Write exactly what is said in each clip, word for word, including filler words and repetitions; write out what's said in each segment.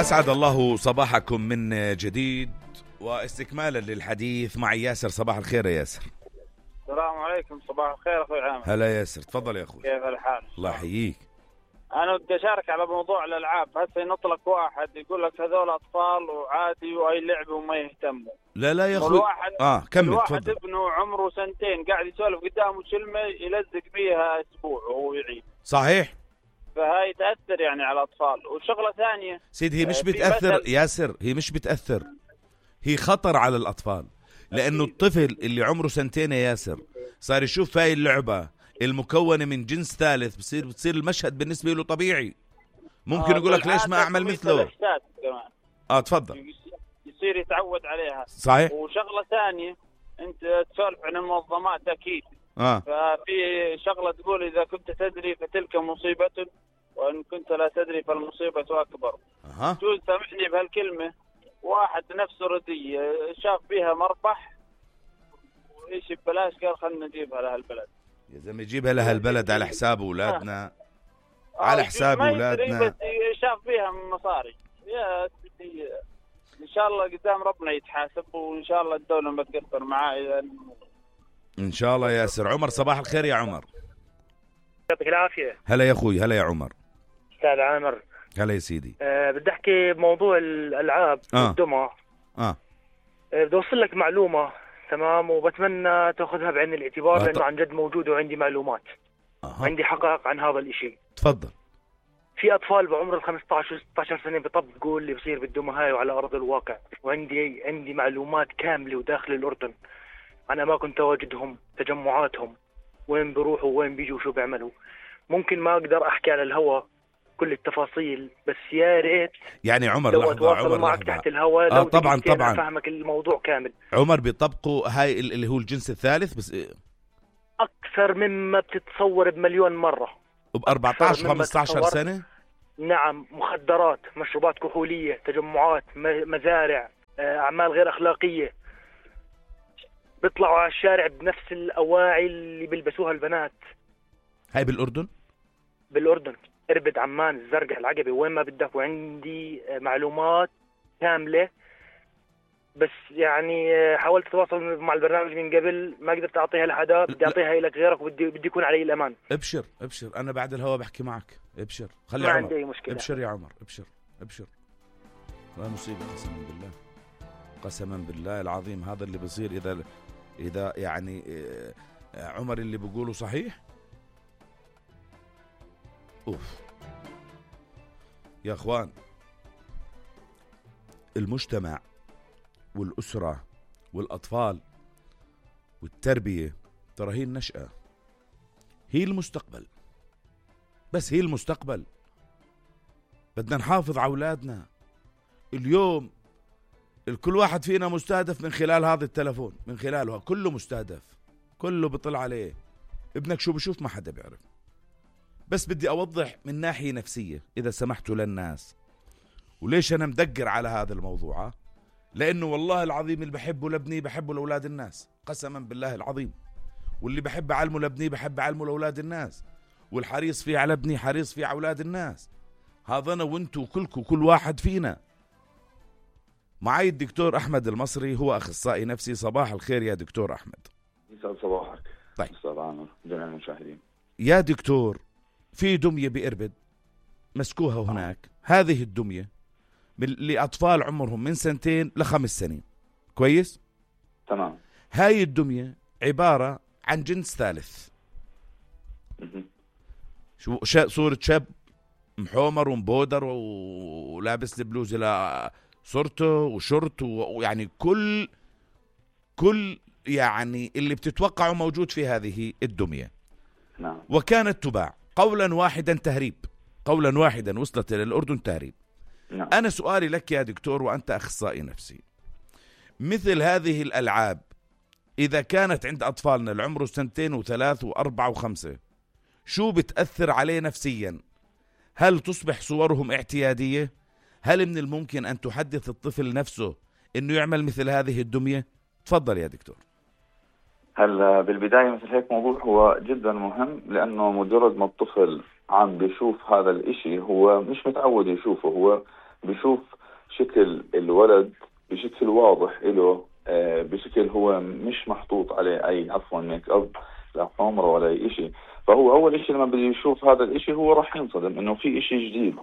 أسعد الله صباحكم من جديد واستكمالا للحديث مع ياسر. صباح الخير يا ياسر. السلام عليكم. صباح الخير أخوي عامر. هلا ياسر، تفضل يا أخوي. كيف الحال؟ الله يحييك. أنا بدي أشارك على موضوع الألعاب. هسه ينطلق واحد يقول لك هذول أطفال وعادي وأي لعبة وما يهتموا. لا لا يا أخوي. الواحد آه كمل الواحد تفضل. ابنه عمره سنتين قاعد يسولف قدامه كلمة يلزق فيها أسبوع وهو يعيد. صحيح. فهاي تأثر يعني على الأطفال. وشغلة ثانية سيد، هي مش آه بتأثر مثل... ياسر، هي مش بتأثر، هي خطر على الأطفال. لأنه الطفل اللي عمره سنتين يا ياسر صار يشوف هاي اللعبة المكونة من جنس ثالث، بصير بتصير المشهد بالنسبة له طبيعي. ممكن آه يقول لك ليش ما أعمل مثله. آه تفضل. يصير يتعود عليها. صحيح. وشغلة ثانية، أنت تسولف عن المنظمات أكيد. آه. ففي شغلة تقول إذا كنت تدري فتلك مصيبة وإن كنت لا تدري فالمصيبة أكبر. أها. جوز سامحني بهالكلمة. واحد نفسه ردي شاف بيها مربح وإيش ببلاش قال خلنا نجيبها لهالبلد. يا زلمة جيبها لهالبلد على حساب أولادنا. آه. على حساب أولادنا. بس شاف بيها مصاري. يا سيدي إن شاء الله قدام ربنا يتحاسب، وإن شاء الله الدولة ما تقصر معاه. إذا إن شاء الله يا ياسر. عمر صباح الخير يا عمر. يعطيك العافية. هلا يا أخوي. هلا يا عمر. أستاذ عامر. هلا يا سيدي. أه بدي أحكي بموضوع الألعاب آه. والدمى. آه. أه بدي أوصل لك معلومة تمام، وبتمنى تأخذها بعين الاعتبار. آه. لأنه عن جد موجود وعندي معلومات. آه. وعندي حقائق عن هذا الإشي. تفضل. في أطفال بعمر الخمسة عشر وستة عشر سنة بيطبقوا اللي بصير بالدمى هاي وعلى أرض الواقع. وعندي عندي معلومات كاملة وداخل الأردن عن أماكن تواجدهم، تجمعاتهم، وين بيروحوا وين بيجوا وشو بيعملوا. ممكن ما أقدر أحكي على الهواء كل التفاصيل، بس يا ريت يعني عمر لو لحظة أتواصل عمر معك لحظة. تحت الهواء. آه لو طبعا طبعا أفهمك الموضوع كامل. عمر بيطبقوا هاي اللي هو الجنس الثالث بس أكثر مما بتتصور بمليون مرة. ب أربعة عشر خمسة عشر سنة. نعم، مخدرات، مشروبات كحولية، تجمعات، مزارع، أعمال غير أخلاقية. بيطلعوا على الشارع بنفس الأواعي اللي بيلبسوها البنات. هاي بالأردن؟ بالأردن، إربد، عمان، الزرقاء، العقبة، وين ما بدك. وعندي معلومات كاملة، بس يعني حاولت أتواصل مع البرنامج من قبل ما قدرت أعطيها لحدا. بدي أعطيها لك غيرك، وبدي بدي يكون علي الأمان. ابشر ابشر، أنا بعد الهوا بحكي معك. ابشر خلي ما عمر. عندي أي مشكلة. ابشر يا عمر، ابشر ابشر. لا مصيبة قسما بالله، قسما بالله العظيم. هذا اللي بصير إذا إذا يعني عمر اللي بيقوله صحيح. أوف يا أخوان، المجتمع والأسرة والأطفال والتربية ترى هي النشأة، هي المستقبل، بس هي المستقبل. بدنا نحافظ على أولادنا. اليوم الكل واحد فينا مستهدف من خلال هذا التلفون، من خلاله كله مستهدف، كله بيطلع عليه. ابنك شو بشوف ما حدا بيعرف. بس بدي أوضح من ناحية نفسية إذا سمحتوا للناس. وليش أنا مدقر على هذا الموضوع؟ لأنه والله العظيم اللي بحبه لابني بحبه لأولاد الناس، قسما بالله العظيم. واللي بحب أعلمه لابني بحب أعلمه لأولاد الناس، والحريص فيه على ابني حريص فيه على أولاد الناس. هذا أنا وانتو كلكو، كل واحد فينا. معي الدكتور أحمد المصري، هو أخصائي نفسي. صباح الخير يا دكتور أحمد. يسعد صباحك. طيب أستاذ عامر، جميع المشاهدين. يا دكتور، في دمية بإربد مسكوها هناك. هذه الدمية لأطفال عمرهم من سنتين لخمس سنين. كويس؟ تمام. هاي الدمية عبارة عن جنس ثالث. شو صورة شاب محومر ومبودر ولابس البلوز إلى صورته وشورت، ويعني كل كل يعني اللي بتتوقعه موجود في هذه الدمية. نعم. وكانت تباع قولا واحدا تهريب، قولا واحدا وصلت إلى الأردن تهريب. نعم. أنا سؤالي لك يا دكتور وأنت أخصائي نفسي، مثل هذه الألعاب إذا كانت عند أطفالنا العمر سنتين وثلاث وأربع وخمسة، شو بتأثر عليه نفسيا؟ هل تصبح صورهم اعتيادية؟ هل من الممكن أن تحدث الطفل نفسه أنه يعمل مثل هذه الدمية؟ تفضل يا دكتور. هلا بالبداية مثل هيك موضوع هو جدا مهم، لأنه مجرد ما الطفل عم بيشوف هذا الاشي هو مش متعود يشوفه، هو بيشوف شكل الولد بشكل واضح له، آه بشكل هو مش محطوط عليه أي عفوا ميك أب لا حمرة ولا أي إشي. فهو أول إشي لما بده يشوف هذا الإشي هو راح ينصدم إنه في إشي جديد.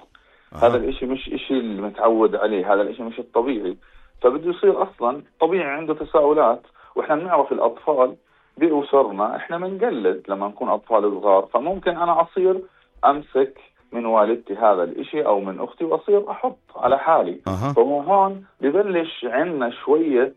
أه. هذا الإشي مش إشي اللي متعود عليه، هذا الإشي مش الطبيعي. فبده يصير أصلا طبيعي عنده تساؤلات. وإحنا بنعرف الأطفال بأسرنا إحنا منقلد لما نكون أطفال صغار، فممكن أنا أصير أمسك من والدتي هذا الإشي أو من أختي وأصير أحط على حالي. أه. فهو هون ببلش عنا شوية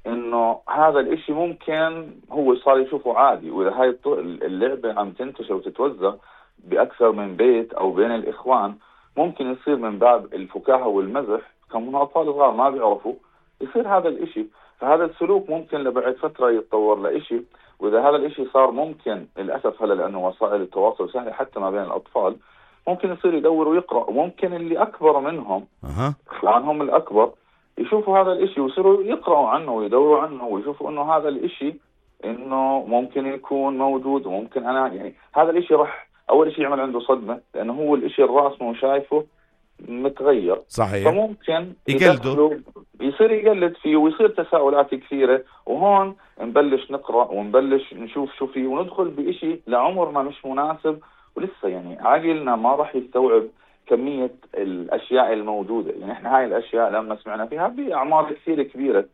إنه هذا الإشي ممكن هو صار يشوفه عادي. وإذا هاي اللعبة عم تنتشر وتتوزع بأكثر من بيت أو بين الإخوان، ممكن يصير من باب الفكاهة والمزح كمان أطفال صغار ما بيعرفوا يصير هذا الإشي. فهذا السلوك ممكن لبعد فترة يتطور لإشي. وإذا هذا الإشي صار ممكن للأسف هلا لأنه وسائل التواصل سهلة حتى ما بين الأطفال، ممكن يصير يدور ويقرأ. وممكن اللي أكبر منهم أه. إخوانهم الأكبر يشوفوا هذا الإشي ويصيروا يقرأوا عنه ويدوروا عنه ويشوفوا إنه هذا الإشي إنه ممكن يكون موجود. وممكن أنا يعني هذا الإشي راح أول إشي يعمل عنده صدمة، لأنه هو الإشي الراسمه وشايفه متغير. صحيح. فممكن يقلده يصير يقلد فيه ويصير تساؤلات كثيرة. وهون نبلش نقرأ ونبلش نشوف شو فيه وندخل بإشي لعمرنا مش مناسب. ولسه يعني عقلنا ما راح يستوعب كمية الأشياء الموجودة. يعني إحنا هاي الأشياء لما سمعنا فيها بأعمار كثير كبيرة،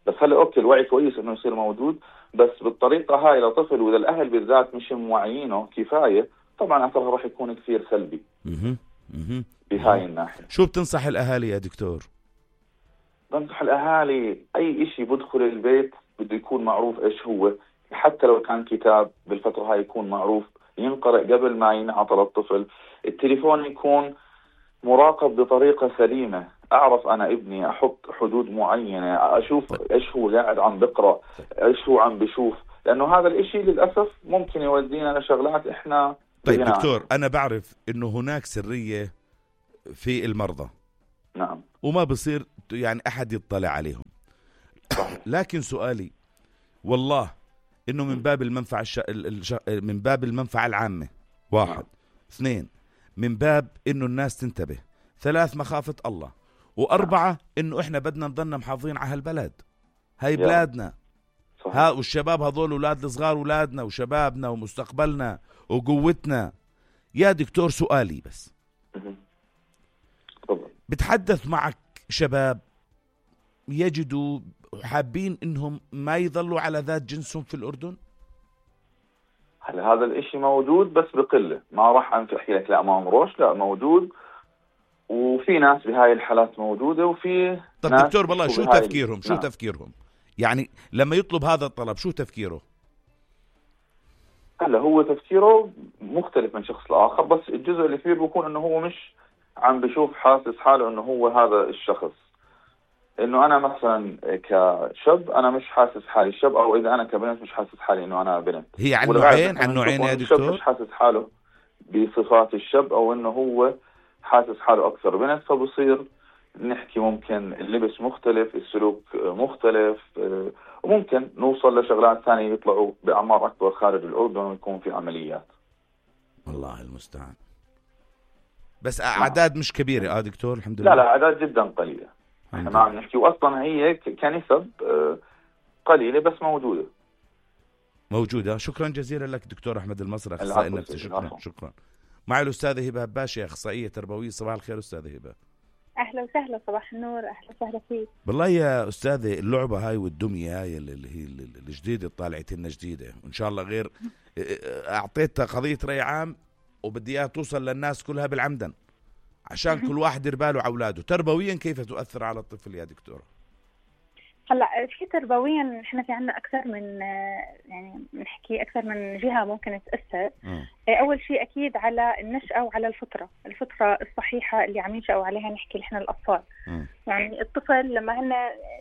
بس هلا أوكي الوعي كويس إنه يصير موجود، بس بالطريقة هاي لطفل وإذا الأهل بالذات مش موعيينه كفاية طبعا أثرها راح يكون كثير سلبي. مه. مه. بهاي الناحية. شو بتنصح الأهالي يا دكتور؟ بنصح الأهالي أي إشي بدخل البيت بده يكون معروف إيش هو. حتى لو كان كتاب بالفترة هاي يكون معروف ينقرأ قبل ما ينعطى للطفل. التليفون يكون مراقب بطريقة سليمة. أعرف أنا ابني أحط حدود معينة، أشوف إيش هو قاعد عم بقرأ، إيش هو عم بشوف، لأنه هذا الإشي للأسف ممكن يودينا لشغلات إحنا. طيب دكتور، أنا بعرف إنه هناك سرية في المرضى. نعم. وما بصير يعني أحد يطلع عليهم. لكن سؤالي والله إنه من باب المنفعة الش... الش... من باب المنفعة العامة، واحد. نعم. اثنين، من باب إنه الناس تنتبه. ثلاث، مخافة الله. وأربعة، إنه إحنا بدنا نضلنا محافظين على هالبلد. هاي بلادنا. صحيح. ها والشباب هذول أولاد الصغار، أولادنا وشبابنا ومستقبلنا وقوتنا. يا دكتور سؤالي بس، بتحدث معك شباب يجدوا حابين إنهم ما يظلوا على ذات جنسهم في الأردن؟ هل هذا الإشي موجود بس بقلة. ما راح أنفحي لك لا ما مروش، لا موجود. وفي ناس بهاي الحالات موجودة وفي طب ناس. دكتور والله شو تفكيرهم؟ شو نعم. تفكيرهم يعني لما يطلب هذا الطلب؟ شو تفكيره؟ هلا هو تفكيره مختلف من شخص لآخر، بس الجزء اللي فيه بيكون إنه هو مش عم بشوف حاسس حاله إنه هو هذا الشخص. إنه أنا مثلا كشاب أنا مش حاسس حالي شاب، أو إذا أنا كبنت مش حاسس حالي إنه أنا بنت. هي عن نوعين عن نوعين يا دكتور. مش حاسس حاله بصفات الشاب، أو إنه هو حاسس حاله أكثر بنت. فبصير نحكي ممكن اللبس مختلف، السلوك مختلف، وممكن نوصل لشغلات ثانية يطلعوا بأعمار أكبر خارج الأردن ويكون في عمليات. والله المستعان. بس أعداد مش كبيرة آه دكتور الحمد لله. لا لا أعداد جدا قليلة. احنا ما عم نحكي، واصلا هي كنسب قليله بس موجوده. موجوده. شكرا جزيلا لك دكتور احمد المصري، اخصائي نفسي. شكرا العفو. شكرا. معي الاستاذه هبه هباشي، اخصائيه تربويه. صباح الخير استاذه هبه. اهلا وسهلا. صباح النور. اهلا وسهلا فيك. والله يا استاذه اللعبه هاي والدميه هاي اللي هي الجديده طالعت لنا جديده، وان شاء الله غير اعطيتها قضيه راي عام وبدي اياها توصل للناس كلها بالعمدن عشان كل واحد يدير باله على اولاده. تربويا كيف تؤثر على الطفل يا دكتوره؟ هلا في تربويا احنا في عنا اكثر من يعني بنحكي اكثر من جهه ممكن تاثر. م. اول شيء اكيد على النشأة وعلى الفطره، الفطره الصحيحه اللي عم ينشأوا عليها نحكي نحن الاطفال. م. يعني الطفل لما هن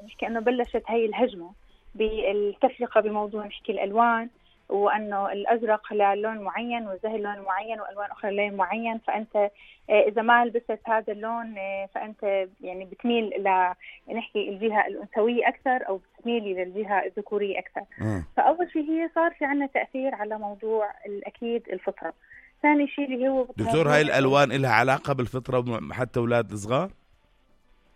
نحكي انه بلشت هي الهجمه بالتفرقه بموضوع نحكي الالوان، وأنه الأزرق لون معين والزهر لون معين وألوان أخرى لون معين، فأنت إذا ما لبست هذا اللون فأنت يعني بتميل ل نحكي الجهة الأنثوية أكثر أو بتميلي للجهة الذكورية أكثر. م. فأول شيء هي صار في عنا تأثير على موضوع الأكيد الفطرة. ثاني شيء اللي هو دكتور هاي الألوان إلها علاقة بالفطرة حتى أولاد الصغار؟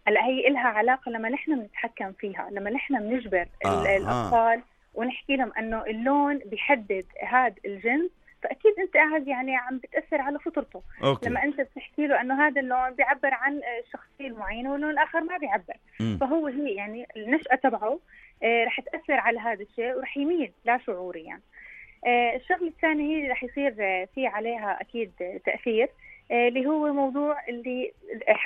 هلا هي إلها علاقة لما نحن بنتحكم فيها، لما نحن بنجبر آه. الأطفال ونحكي لهم أنه اللون بيحدد هذا الجنس، فأكيد أنت قاعد يعني عم بتأثر على فطرته. أوكي. لما أنت بتحكي له أنه هذا اللون بيعبر عن الشخصية المعينة واللون الآخر ما بيعبر، م. فهو هي يعني النشأة تبعه آه رح تأثر على هذا الشيء ورح يميل لا شعوريا. يعني. آه الشغلة الثانية هي رح يصير آه في عليها أكيد آه تأثير آه اللي هو موضوع اللي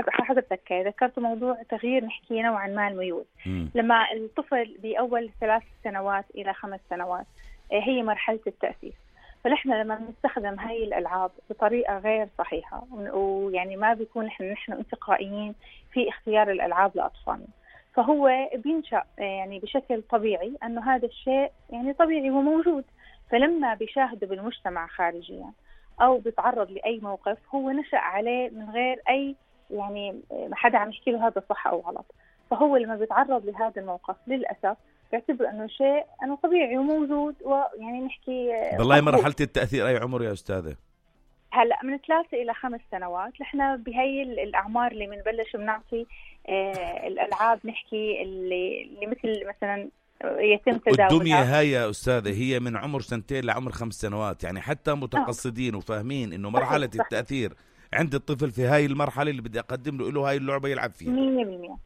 حضرتك ذكرت، موضوع تغيير نحكي نوعا ما الميول. م. لما الطفل بأول ثلاث سنوات إلى خمس سنوات آه هي مرحلة التأسيس، فنحن لما بنستخدم هاي الألعاب بطريقة غير صحيحة ويعني ما بيكون نحن نحن انتقائيين في اختيار الألعاب لأطفالنا، فهو بينشأ يعني بشكل طبيعي أنه هذا الشيء يعني طبيعي وموجود، فلما بيشاهده بالمجتمع خارجيا أو بيتعرض لأي موقف هو نشأ عليه من غير أي يعني ما حدا عم يحكي له هذا صح أو غلط، فهو لما بيتعرض لهذا الموقف للأسف بيعتبر انه شيء انه طبيعي وموجود، ويعني نحكي بالله. مرحلة التأثير اي عمر يا استاذة؟ هلا من ثلاثة الى خمس سنوات. نحن بهي الاعمار اللي بنبلش بنعطي آه الالعاب نحكي اللي, اللي مثل مثلا يتم تداولها. الدمية هاي يا استاذة هي من عمر سنتين لعمر خمس سنوات، يعني حتى متقصدين آه. وفاهمين انه مرحلة صحيح. التأثير صحيح. عند الطفل في هاي المرحلة اللي بدي اقدم له له هاي اللعبة يلعب فيها مية بالمية.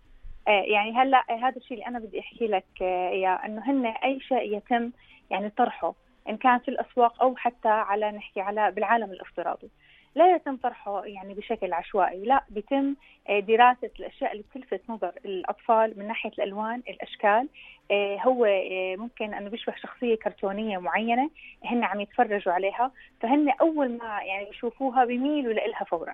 يعني هلا هذا الشيء اللي انا بدي احكي لك اياه، انه هن اي شيء يتم يعني طرحه ان كان في الاسواق او حتى على نحكي على بالعالم الافتراضي لا يتم طرحه يعني بشكل عشوائي، لا بيتم دراسه الاشياء اللي بتلفت نظر الاطفال من ناحيه الالوان الاشكال. هو ممكن انه بيشبه شخصيه كرتونيه معينه هن عم يتفرجوا عليها، فهن اول ما يعني يشوفوها بيميلوا لها فورا،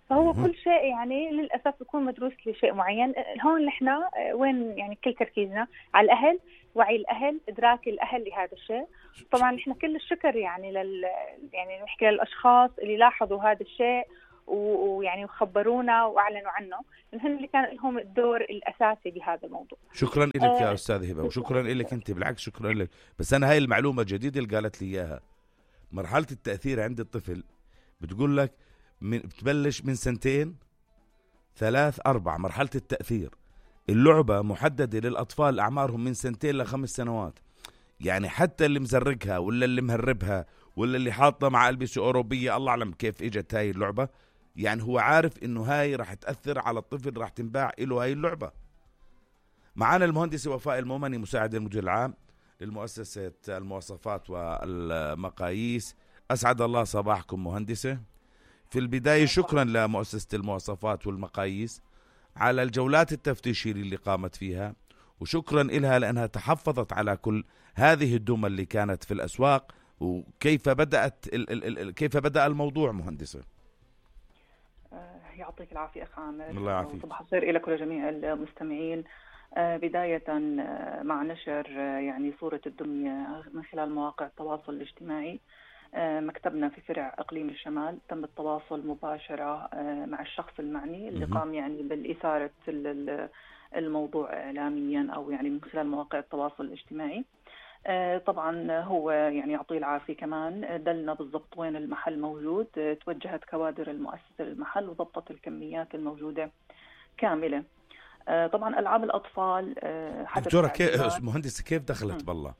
فهو كل شيء يعني للأسف يكون مدروس لشيء معين. هون نحن وين يعني كل تركيزنا على الأهل، وعي الأهل، إدراك الأهل لهذا الشيء. طبعا نحن كل الشكر يعني لل يعني نحكي للأشخاص اللي لاحظوا هذا الشيء ويعني وخبرونا وأعلنوا عنه، لأن اللي كان لهم الدور الأساسي بهذا الموضوع. شكرا لك آه يا أستاذ هبة، وشكرا لك أنت، بالعكس شكرا لك. بس أنا هاي المعلومة الجديدة اللي قالت لي إياها، مرحلة التأثير عند الطفل بتقول لك من بتبلش من سنتين ثلاث أربع. مرحلة التأثير اللعبة محددة للأطفال أعمارهم من سنتين لخمس سنوات، يعني حتى اللي مزرقها ولا اللي مهربها ولا اللي حاطة مع ألبسة أوروبية الله أعلم كيف إجت هاي اللعبة، يعني هو عارف إنه هاي راح تأثر على الطفل، راح تنباع إله هاي اللعبة. معنا المهندسة وفاء المومني مساعد المدير العام للمؤسسة المواصفات والمقاييس. أسعد الله صباحكم مهندسة. في البداية شكرا لمؤسسة المواصفات والمقاييس على الجولات التفتيشية اللي قامت فيها، وشكرا إلها لأنها تحفظت على كل هذه الدمى اللي كانت في الأسواق. وكيف بدأت ال ال ال كيف بدأ الموضوع مهندسة؟ يعطيك العافية أخ عامر. الله يعافيك. صباح الخير لك ولجميع المستمعين. بداية مع نشر يعني صورة الدمية من خلال مواقع التواصل الاجتماعي، مكتبنا في فرع إقليم الشمال تم التواصل مباشرة مع الشخص المعني اللي قام يعني بالإثارة الموضوع إعلاميا أو يعني من خلال مواقع التواصل الاجتماعي. طبعا هو يعني يعطيه العافية كمان دلنا بالضبط وين المحل موجود، توجهت كوادر المؤسسة للمحل وضبطت الكميات الموجودة كاملة. طبعا ألعاب الأطفال دكتورة كيف مهندس كيف دخلت بالله؟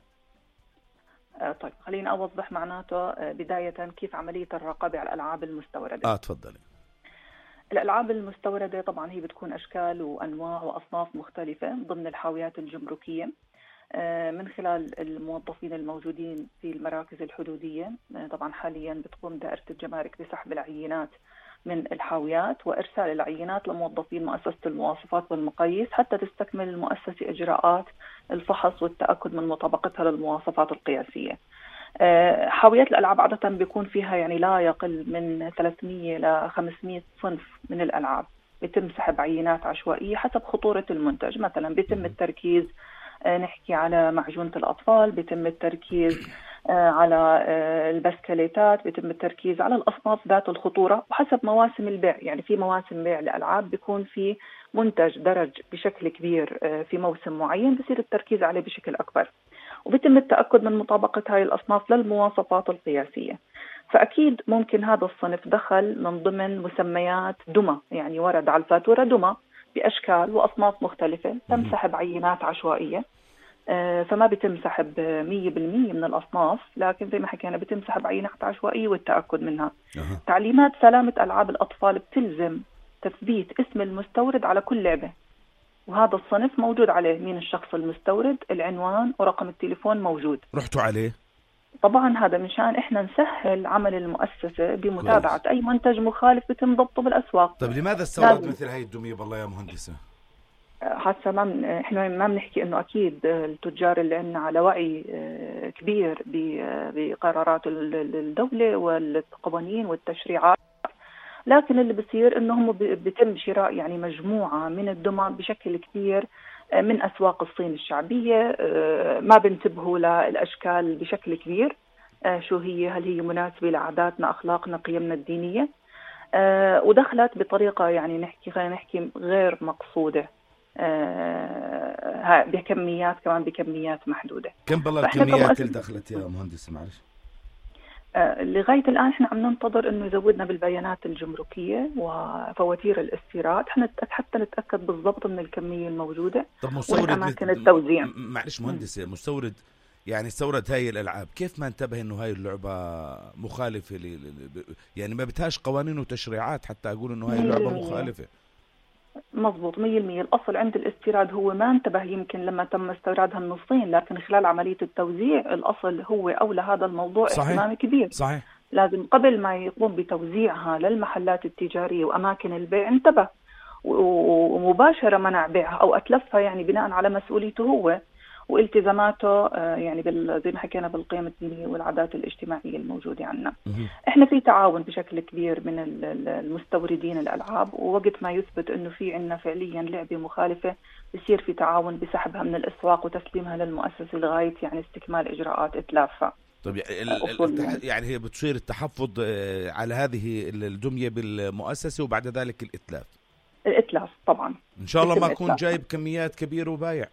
طيب خلينا أوضح معناته بداية كيف عملية الرقابة على الألعاب المستوردة. آه تفضلي. الألعاب المستوردة طبعا هي بتكون أشكال وأنواع وأصناف مختلفة ضمن الحاويات الجمركية من خلال الموظفين الموجودين في المراكز الحدودية. طبعا حاليا بتقوم دائرة الجمارك بسحب العينات من الحاويات وإرسال العينات لموظفين مؤسسة المواصفات والمقاييس حتى تستكمل المؤسسة إجراءات الفحص والتأكد من مطابقتها للمواصفات القياسية. حاويات الألعاب عادة بيكون فيها يعني لا يقل من ثلاثمية إلى خمسمية صنف من الألعاب، بيتم سحب عينات عشوائية حسب خطورة المنتج. مثلا بيتم التركيز نحكي على معجونة الأطفال، بيتم التركيز على البسكليتات، بيتم التركيز على الأصناف ذات الخطورة وحسب مواسم البيع. يعني في مواسم بيع لألعاب بيكون في منتج درج بشكل كبير في موسم معين بصير التركيز عليه بشكل أكبر، وبيتم التأكد من مطابقة هاي الأصناف للمواصفات القياسية. فأكيد ممكن هذا الصنف دخل من ضمن مسميات دمى، يعني ورد على الفاتورة دمى بأشكال وأصناف مختلفة، تنسحب عينات عشوائية. فما بيتم سحب مية بالمية من الأصناف، لكن زي ما حكينا بيتم سحب عينات عشوائية والتأكد منها. أه. تعليمات سلامة ألعاب الأطفال بتلزم تثبيت اسم المستورد على كل لعبة، وهذا الصنف موجود عليه مين الشخص المستورد، العنوان ورقم التليفون موجود. رحتوا عليه؟ طبعا هذا مشان احنا نسهل عمل المؤسسة بمتابعة كويس. أي منتج مخالف بيتم ضبطه بالأسواق. طيب لماذا استورد مثل هاي الدمية بالله يا مهندسة؟ حتى ما من احنا ما بنحكي انه اكيد التجار اللي عندنا على وعي كبير بقرارات الدولة والقوانين والتشريعات، لكن اللي بصير انه هم بيتم شراء يعني مجموعة من الدمى بشكل كبير من اسواق الصين الشعبية، ما بنتبهوا للاشكال بشكل كبير شو هي، هل هي مناسبة لعاداتنا اخلاقنا قيمنا الدينية، ودخلت بطريقة يعني نحكي خلينا نحكي غير مقصودة آه بكميات كمان بكميات محدودة. كم بالله الكميات اللي دخلت يا مهندس معلش؟ آه لغاية الآن احنا عم ننتظر انه يزودنا بالبيانات الجمركية وفواتير الاستيراد حتى نتأكد بالضبط من الكمية الموجودة. طب مستورد أماكن التوزيع. معلش مهندس، مستورد يعني استورد هاي الألعاب، كيف ما انتبه انه هاي اللعبة مخالفة ل... يعني ما بتهاش قوانين وتشريعات حتى اقول انه هاي اللعبة مخالفة؟ مظبوط مية بالمية. الأصل عند الاستيراد هو ما انتبه يمكن لما تم استيرادها من الصين، لكن خلال عملية التوزيع الأصل هو أولى هذا الموضوع اهتمام كبير. صحيح. لازم قبل ما يقوم بتوزيعها للمحلات التجارية وأماكن البيع انتبه ومباشرة منع بيعها أو أتلفها، يعني بناء على مسؤوليته هو والتزاماته يعني زي ما حكينا بالقيم الدينية والعادات الاجتماعية الموجودة عندنا. احنا في تعاون بشكل كبير من المستوردين الألعاب، ووقت ما يثبت انه في عندنا فعليا لعبة مخالفة بيصير في تعاون بسحبها من الأسواق وتسليمها للمؤسسة لغاية يعني استكمال إجراءات إتلافها. طب يعني هي بتصير التحفظ على هذه الدمية بالمؤسسة وبعد ذلك الإتلاف؟ الإتلاف طبعا إن شاء الله ما أكون جايب كميات كبيرة وبايع.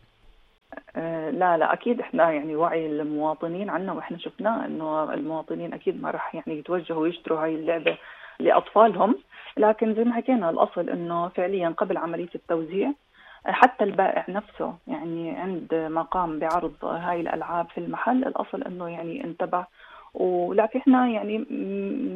آه لا لا أكيد إحنا يعني وعي المواطنين عنا، وإحنا شفناه إنه المواطنين أكيد ما رح يعني يتوجهوا يشتروا هاي اللعبة لأطفالهم، لكن زي ما حكينا الأصل إنه فعليا قبل عملية التوزيع حتى البائع نفسه يعني عند ما قام بعرض هاي الألعاب في المحل الأصل إنه يعني انتبه. ولكن إحنا يعني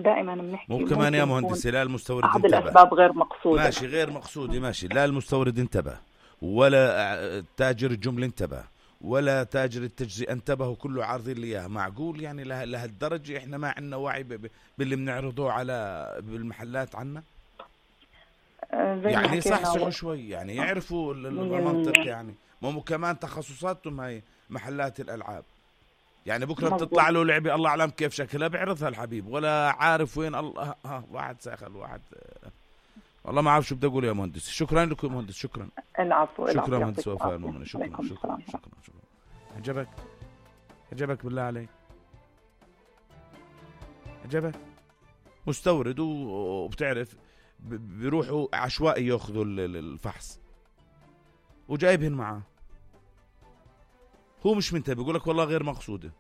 دائما بنحكي مو كمان يا مهندس لا المستورد أحد انتبه، الأسباب غير مقصودة. ماشي غير مقصودة ماشي، لا المستورد انتبه ولا تاجر الجملة انتبه ولا تاجر التجزئة انتبه، كله عارضين لي اياها. معقول يعني لهالدرجة احنا ما عندنا وعي باللي بنعرضه على بالمحلات عنا؟ يعني صحصحوا شوي يعني يعرفوا المنطق، يعني مو كمان تخصصاتهم هاي محلات الألعاب. يعني بكرة بتطلع له لعبة الله أعلم كيف شكلها بيعرضها الحبيب ولا عارف وين الله ها واحد ساخل واحد والله ما عارف شو بدي أقول يا مهندس. شكرا لكم يا مهندس. شكرا. العفو. شكرا مهندس وفاء المؤمنة. شكرا شكرا شكرا, شكرا شكرا. عجبك عجبك بالله عليك عجبك؟ مستورد وبتعرف بيروحوا عشوائي ياخذوا الفحص وجايبهن معاه، هو مش منتبه بيقول لك والله غير مقصودة،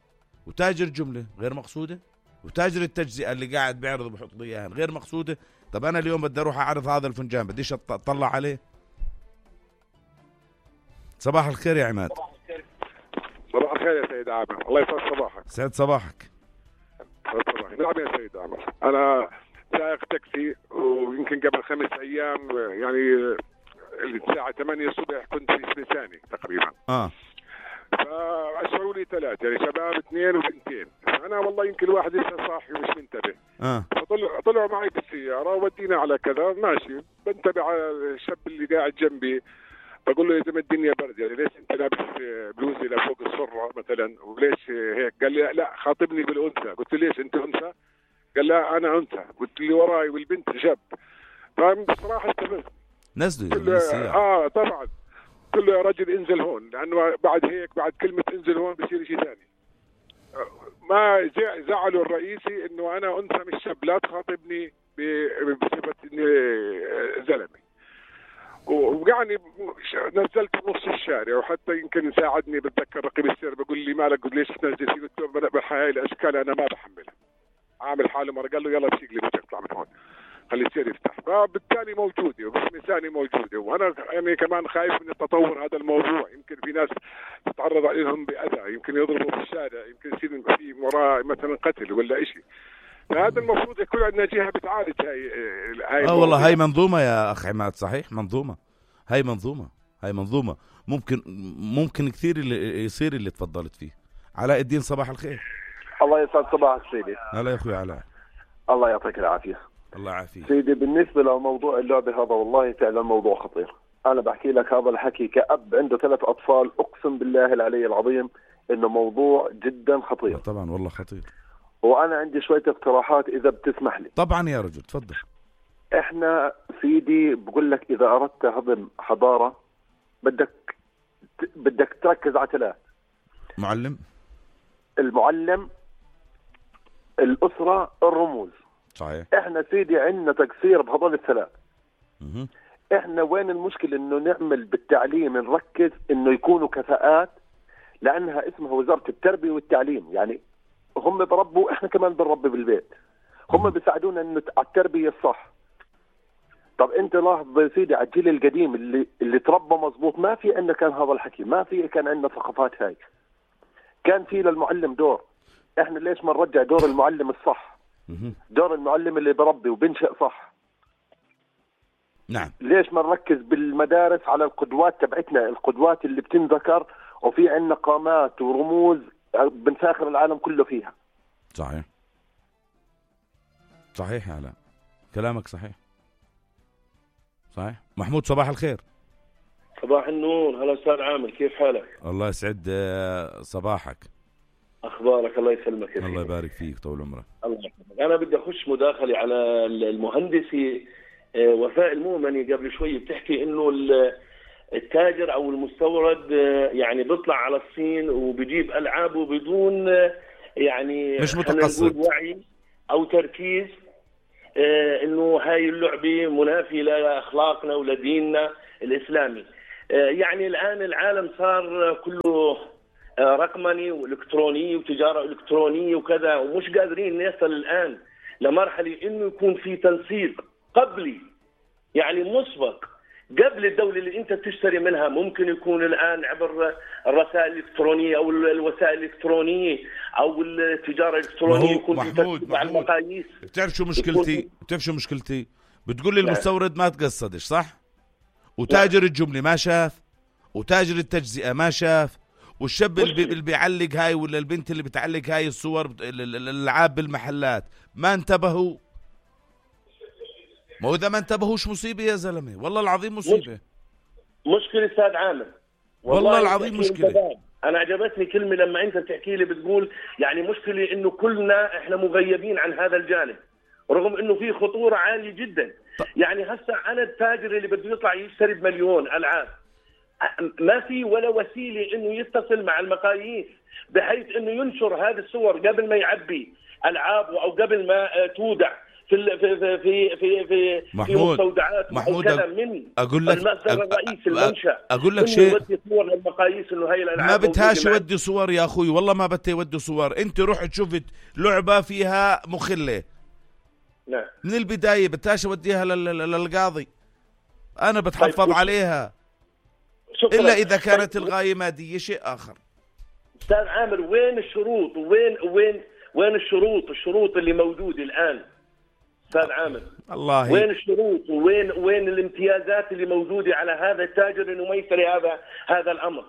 وتاجر جملة غير مقصودة، وتاجر التجزئة اللي قاعد بيعرض بحط لي اياها غير مقصودة. طب انا اليوم بدي اروح اعرض هذا الفنجان بديش اطلع عليه؟ صباح الخير يا عماد. صباح الخير يا سيد عامر، الله يسعد صباحك. سعد صباحك. سعد صباحك. نعم يا سيد عامر، انا سائق تاكسي ويمكن قبل خمس ايام يعني الساعة ثمانية الصبح كنت في سبيساني تقريبا. اه فأشعروا لي ثلاثة يعني شباب اثنين وبنتين، أنا والله يمكن الواحد لسه صاحي ومش منتبه. اه فطلعوا طلعوا معي بالسيارة ودينا على كذا ماشي، بنتبه على الشاب اللي قاعد جنبي بقول له يا زلمة الدنيا برد يعني ليش أنت لابس بلوزي لفوق السرة مثلا وليش هيك؟ قال لي لا خاطبني بالأنثى. قلت له ليش أنت أنثى؟ قال لا أنا أنثى. قلت لي وراي والبنت شاب. فبصراحة استفزت. نزلوا اه طبعا قلت له يا رجل انزل هون، لانه بعد هيك بعد كلمه انزل هون بصير شيء ثاني. ما زعلوا الرئيسي انه انا انثى مش شاب، لا تخاطبني بصفه اني زلمه. وقعني نزلت بنص الشارع، وحتى يمكن ساعدني بتذكر رقم السير بقول لي مالك قلت ليش تنزل فيه؟ قلت له بهاي الاشكال انا ما بحملها، عامل حاله مره. قال له يلا بسيق لي بدك تطلع من هون. خلي السير يفتح. فبالتالي موجوده وباسم ثاني موجوده، وانا يعني كمان خايف من التطور هذا الموضوع. يمكن في ناس تتعرض عليهم باذى، يمكن يضربوا في الشارع، يمكن يصير في وراه مثلا قتل ولا شيء. فهذا المفروض يكون عندنا جهه بتعالج هاي هاي اه والله هاي منظومه يا اخ عماد، صحيح منظومه، هاي منظومه هاي منظومه ممكن ممكن كثير اللي يصير اللي تفضلت فيه. علاء الدين صباح الخير. الله يسعد صباحك سيدي. هلا يا اخوي علاء. الله يعطيك العافيه. الله يعافيك سيدي. بالنسبه لموضوع اللعبه هذا والله فعلا موضوع خطير. انا بحكي لك هذا الحكي كأب عنده ثلاث اطفال، اقسم بالله العلي العظيم انه موضوع جدا خطير. طبعا والله خطير. وانا عندي شويه اقتراحات اذا بتسمح لي. طبعا يا رجل تفضل. احنا سيدي بقول لك اذا اردت هضم حضاره بدك بدك تركز على ثلاث: معلم، المعلم، الاسره، الرموز. صحيح. احنا سيدي عندنا تقصير بهذول الثلاث. مه. احنا وين المشكله؟ انه نعمل بالتعليم نركز انه يكونوا كفاءات، لانها اسمها وزاره التربيه والتعليم. يعني هم بربوا، احنا كمان بنربي بالبيت. هم بيساعدونا انه على التربيه الصح. طب انت لاحظ يا سيدي على الجيل القديم اللي اللي تربى مزبوط، ما في عندنا كان هذا الحكي، ما في كان عندنا ثقافات هاي. كان في للمعلم دور. احنا ليش ما نرجع دور المعلم الصح؟ دور المعلم اللي بربي وبنشئ صح. نعم. ليش ما نركز بالمدارس على القدوات تبعتنا، القدوات اللي بتنذكر وفي عندنا قامات ورموز بنفاخر العالم كله فيها. صحيح صحيح يا علاء، كلامك صحيح صحيح. محمود صباح الخير. صباح النور. هلا استاذ عامر، كيف حالك؟ الله يسعد صباحك. اخبارك؟ الله يسلمك. الله يبارك فيك، طول عمرك. الله يحفظك. انا بدي اخش مداخله على المهندسه وفاء المؤمني. قبل شوي بتحكي انه التاجر او المستورد يعني بيطلع على الصين وبيجيب العابه بدون يعني مش متقصد وعي او تركيز انه هاي اللعبه منافيه لاخلاقنا ولديننا الاسلامي. يعني الان العالم صار كله رقمني والكتروني وتجاره الكترونيه وكذا، ومش قادرين نصل الان لمرحله انه يكون في تنسيق قبلي يعني مسبق قبل الدولة اللي انت تشتري منها. ممكن يكون الان عبر الرسائل الالكترونية او الوسائل الالكترونية او التجارة الالكترونية يكون محمود مع المقاييس. بتعرف شو مشكلتي؟ بتعرف شو مشكلتي؟ بتقول لي المستورد ما تقصدش صح؟ وتاجر الجملة ما شاف، وتاجر التجزئة ما شاف، والشاب اللي, اللي بيعلق هاي ولا البنت اللي بتعلق هاي الصور الالعاب بالمحلات ما انتبهوا. ما هو إذا ما انتبهوش مصيبة يا زلمة، والله العظيم مصيبة. مشكلة أستاذ عامر، والله, والله العظيم مشكلة. أنا عجبتني كلمة لما أنت تحكي لي بتقول يعني مشكلة إنه كلنا إحنا مغيبين عن هذا الجانب، رغم إنه في خطورة عالية جدا. ط... يعني هسه أنا التاجر اللي بده يطلع يشتري بمليون ألعاب، ما في ولا وسيلة إنه يتصل مع المقاييس بحيث إنه ينشر هذه الصور قبل ما يعبي ألعابه أو قبل ما تودع في في في في في محمود في مستودعات محمود كذا من اقول لك المصدر الرئيسي المنشأ. اقول لك شيء، يودي صور للمقاييس انه هي الالعاب ما بدهاش يودي صور يا اخوي، والله ما بدها يودي صور. انت رحت شفت لعبه فيها مخله، نعم، من البدايه بدهاش اوديها للقاضي، انا بتحفظ طيب عليها الا اذا كانت طيب الغايه ماديه شيء اخر. استاذ عامر، وين الشروط وين وين وين الشروط الشروط اللي موجوده الان استاذ عامر؟ الله، وين الشروط وين وين الامتيازات اللي موجوده على هذا التاجر انه ما يشتري هذا هذا الامر؟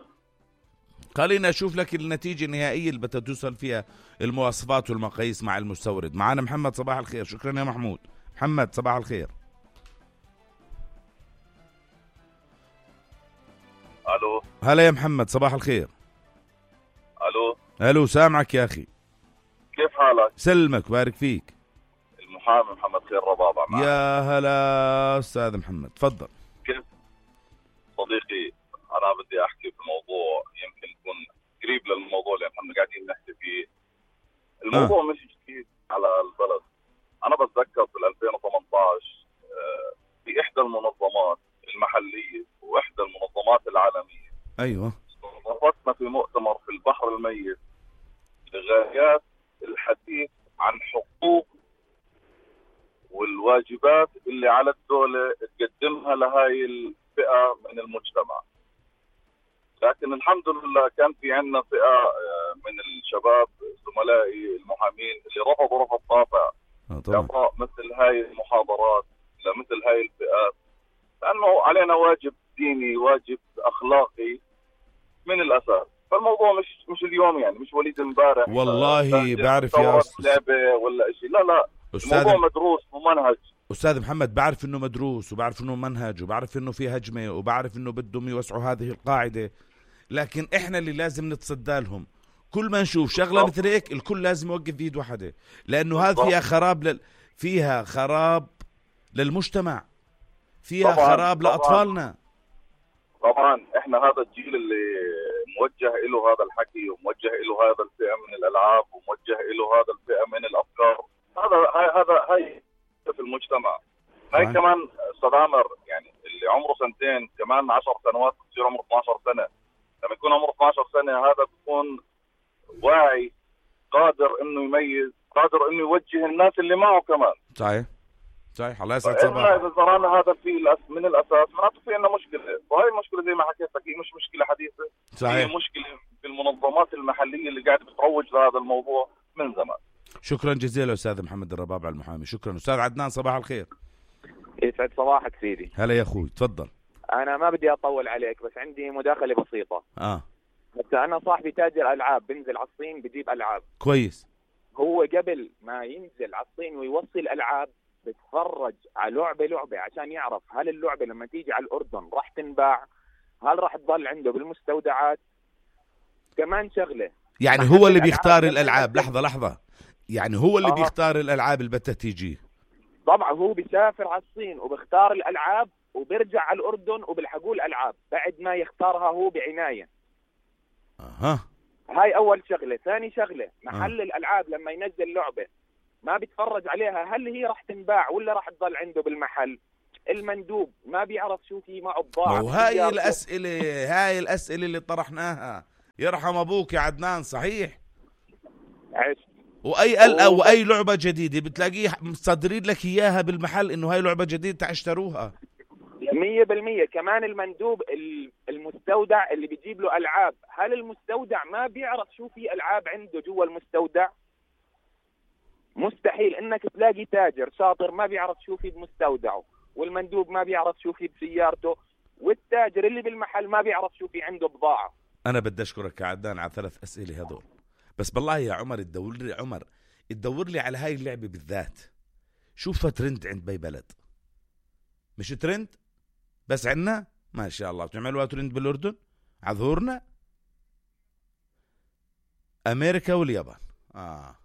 خلينا اشوف لك النتيجه النهائيه اللي بدها توصل فيها المواصفات والمقاييس مع المستورد. معنا محمد صباح الخير. شكرا يا محمود. محمد صباح الخير. الو. هلا يا محمد صباح الخير. الو. الو سامعك يا اخي. كيف حالك؟ سلمك بارك فيك. المحامي محمد خير ربابة معك. يا هلا استاذ محمد، تفضل. كيف صديقي، انا بدي احكي في موضوع يمكن يكون قريب للموضوع اللي احنا قاعدين نحكي فيه. الموضوع آه. مش جديد على البلد. انا بتذكر في ألفين وثمانية عشر في احدى المنظمات المحليه واحدى المنظمات العالميه، ايوه، استضافتنا في مؤتمر في البحر الميت لغايات الحديث عن حقوق والواجبات فئة من المجتمع. لكن الحمد لله كان في عندنا فئة من الشباب زملائي المحامين اللي رفضوا رفض قاطع إعطاء مثل هاي المحاضرات لمثل هاي الفئات، لأنه علينا واجب ديني، واجب أخلاقي من الأساس. فالموضوع مش مش اليوم، يعني مش وليد امبارح والله بعرف يا أستاذ لعبة ولا إشي، لا لا الموضوع مدروس ومنهج. أستاذ محمد، بعرف إنه مدروس وبعرف إنه منهج وبعرف إنه في هجمة وبعرف إنه بدهم يوسعوا هذه القاعدة، لكن إحنا اللي لازم نتصدى لهم. كل ما نشوف شغلة مثل هيك الكل لازم يوقف بيد واحدة، لأنه هذا فيها خراب لل... فيها خراب للمجتمع، فيها طبعاً خراب طبعاً لأطفالنا. طبعا احنا هذا الجيل اللي موجه له هذا الحكي وموجه له هذا الفئة من الألعاب وموجه له هذا الفئة من الأفكار، هذا هاي هذا هاي في المجتمع. هاي هاي. كمان أستاذ عامر، يعني اللي عمره سنتين كمان عشر سنوات بصير عمره اثني عشر سنة، لما يكون عمره اثني عشر سنة هذا بيكون واعي، قادر انه يميز، قادر انه يوجه الناس اللي معه كمان. صحيح صحيح. الله يسعد صباحك. صباحك. إذا زرعنا هذا في من الأساس معناته في عندنا مشكلة، وهي المشكلة زي ما حكيت لك هي مش مشكلة حديثة، صحيح. هي مشكلة في المنظمات المحلية اللي قاعدة بتروج لهذا الموضوع من زمان. شكرا جزيلا أستاذ محمد الربابع المحامي. شكرا. أستاذ عدنان صباح الخير. يسعد صباحك سيدي. هلا يا أخوي، تفضل. أنا ما بدي أطول عليك، بس عندي مداخلة بسيطة. آه بس أنا صاحبي تاجر ألعاب، بنزل على الصين بجيب ألعاب. كويس. هو قبل ما ينزل على الصين ويوصل الألعاب بتفرج على لعبة لعبة عشان يعرف هل اللعبة لما تيجي على الأردن راح تنباع، هل راح تضل عنده بالمستودعات. كمان شغلة، يعني هو اللي بيختار الألعاب. لحظة لحظة، يعني هو اللي آه. بيختار الألعاب اللي بدها تيجي. طبعا هو بيسافر على الصين وبيختار الألعاب وبيرجع على الأردن وبيلحقوا الألعاب بعد ما يختارها هو بعناية. أها. هاي أول شغلة. ثاني شغلة، محل آه. الألعاب لما ينزل لعبة ما بيتفرج عليها هل هي راح تنباع ولا راح تضل عنده بالمحل. المندوب ما بيعرف شو في معه بضاعة. وهاي الأسئلة هاي الأسئلة اللي طرحناها، يرحم أبوك يا عدنان. صحيح. عشت. وأي ال أو أي لعبة جديدة بتلاقيه مصدرين لك إياها بالمحل إنه هاي لعبة جديدة تعشتروها. مية بالمية. كمان المندوب المستودع اللي بيجيب له ألعاب، هل المستودع ما بيعرف شو في ألعاب عنده جوا المستودع؟ مستحيل انك تلاقي تاجر شاطر ما بيعرف شو في بمستودعه، والمندوب ما بيعرف شو في بسيارته، والتاجر اللي بالمحل ما بيعرف شو في عنده بضاعة. انا بدي اشكرك يا عدنان على ثلاث اسئله هذول، بس بالله يا عمر تدور لي عمر تدور لي على هاي اللعبه بالذات، شوفها ترند عند باي بلد، مش ترند بس عندنا ما شاء الله بتعملوها ترند بالاردن على ظهورنا. امريكا واليابان اه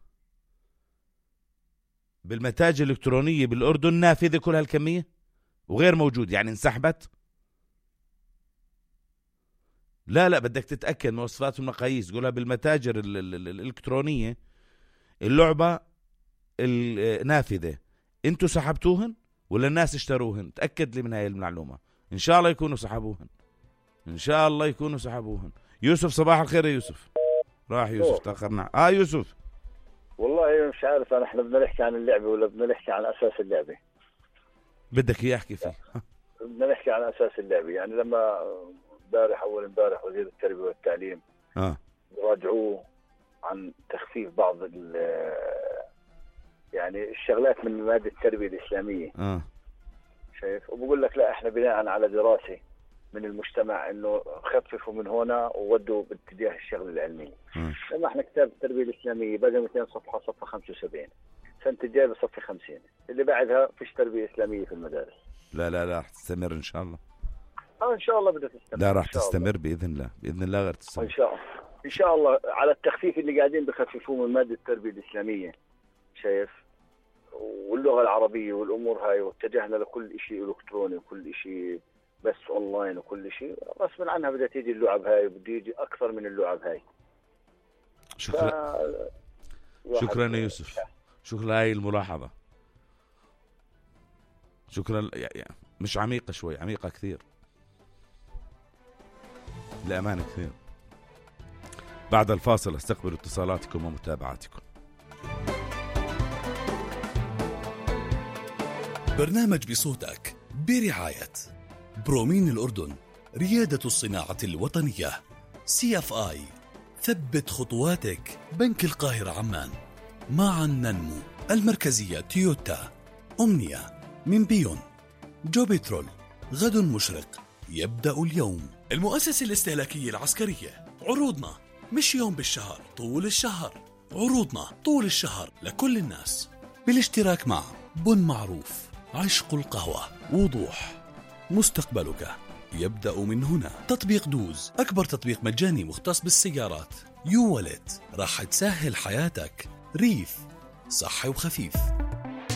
بالمتاجر الإلكترونية بالأردن نافذة كل هالكمية وغير موجود، يعني انسحبت. لا لا بدك تتأكد مواصفات والمقاييس، تقولها بالمتاجر ال ال ال الإلكترونية اللعبة النافذة انتوا سحبتوهن ولا الناس اشتروهن؟ تأكد لي من هاي المعلومة. إن شاء الله يكونوا سحبوهن، إن شاء الله يكونوا سحبوهن. يوسف صباح الخير يا يوسف. راح يوسف تأخرنا. آه يوسف والله مش عارف أنا إحنا بدنا نحكي عن اللعبة ولا بدنا نحكي عن أساس اللعبة؟ بدك إياه أحكي فيه؟ بدنا نحكي عن أساس اللعبة. يعني لما امبارح أول امبارح وزير التربية والتعليم آه راجعوه عن تخفيف بعض يعني الشغلات من مواد التربية الإسلامية آه شايف، وبقول لك لا إحنا بناء على دراسة من المجتمع إنه خففوا من هنا وودوا باتجاه الشغل العلمي. لما إحنا كتاب التربية الإسلامية بقى مئتين صفحة، صفحة خمسة وسبعين، سنة الجاية بصفحة خمسين، اللي بعدها فيش تربية إسلامية في المدارس. لا لا لا راح تستمر إن شاء الله. آه إن شاء الله بدها تستمر. لا راح تستمر بإذن الله، بإذن الله غير تستمر. إن شاء الله إن شاء الله على التخفيف اللي قاعدين بخففوه من مادة التربية الإسلامية شايف، واللغة العربية والأمور هاي، واتجهنا لكل شيء إلكتروني وكل شيء بس أونلاين وكل شيء، غصبا عنها بدها تيجي اللعب هاي وبده يجي أكثر من اللعب هاي. شكرا ف... شكرا يا يوسف، شكرا هاي الملاحظة، شكرا. يعني مش عميقة شوي، عميقة كثير لأمانة كثير. بعد الفاصل استقبل اتصالاتكم ومتابعاتكم. برنامج بصوتك برعاية برومين الأردن، ريادة الصناعة الوطنية. سي اف آي، ثبت خطواتك. بنك القاهرة عمان، معا ننمو. المركزية تويوتا. أمنية من بيون. جو بترول، غد مشرق يبدأ اليوم. المؤسسة الاستهلاكية العسكرية، عروضنا مش يوم بالشهر، طول الشهر. عروضنا طول الشهر لكل الناس، بالاشتراك مع بن معروف، عشق القهوة، وضوح. مستقبلك يبدأ من هنا. تطبيق دوز، أكبر تطبيق مجاني مختص بالسيارات. يو والت، راح تسهل حياتك. ريف، صحي وخفيف.